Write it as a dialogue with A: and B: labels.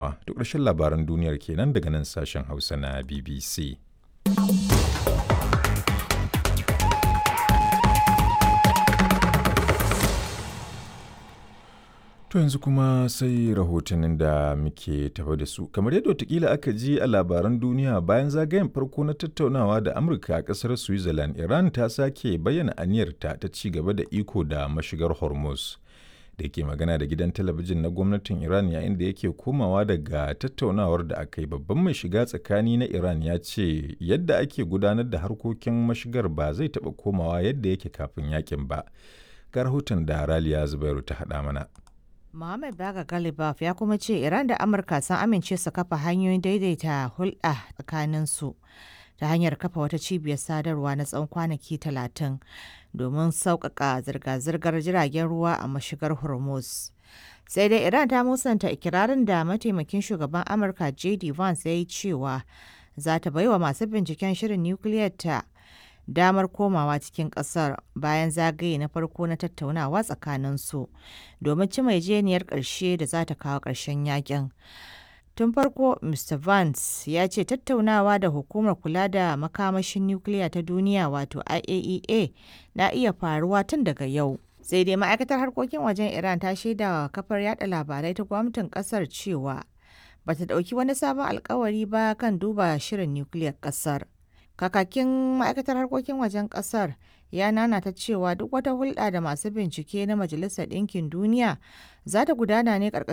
A: To ƙarshen labaran duniyar kenan daga nan sashen Hausa na BBC. To yanzu kuma sai rahotannin da muke tafa da su. Kamar yadda watakila aka ji a labaran duniya bayan zagayen farko na tattaunawa da Amurka a ƙasar Switzerland, Iran ta sake bayyana aniyarta ta ci gaba da iko da mashigar Hormuz. Da yake magana da gidan talabijin na gwamnatin Iran yayin da yake komawa daga tattaunawar da aka yi babban mai shiga tsakani na Iran ya ce yadda ake gudanar da harkokin mashigar ba zai taɓa komawa yadda yake kafin yakin ba. Ga rahoton da Raliya Zubairu ta haɗa mana.
B: Mohammed Baga Galibaf ya kuma ce Iran da Amurka sun amince su kafa hanyoyin daidaita hulɗa tsakaninsu ta hanyar kafa wata cibiyar sadarwa na tsawon kwanaki 30 domin sauƙaƙa zirga-zirgar jiragen ruwa a mashigar Hormuz. Sai dai Iran ta musanta ikirarin da mataimakin shugaban Amurka JD Vance ya yi cewa za ta baiwa masu binciken shirin nukiliyar ta damar komawa cikin kasar bayan zagaye na farko na tattaunawa tsakaninsu domin cima yarjejeniyar ƙarshe da za ta kawo ƙarshen yakin. Tun farko, Mr. Vance ya ce tattaunawa da hukumar kula da makamashin nukiliya ta duniya wato IAEA na iya faruwa tun daga yau. Sai dai ma'aikatar harkokin wajen Iran ta shaidawa kafar yada labarai ta gwamnatin kasar cewa bata ɗauki wani sabon alkawari ba kan duba shirin nukiliyar kasar. Kakakin ma'aikatar harkokin wajen kasar ya nanata cewa duk wata hulɗa da masu bincike na Majalisar Ɗinkin Duniya za ta gudana ne ƙarƙashin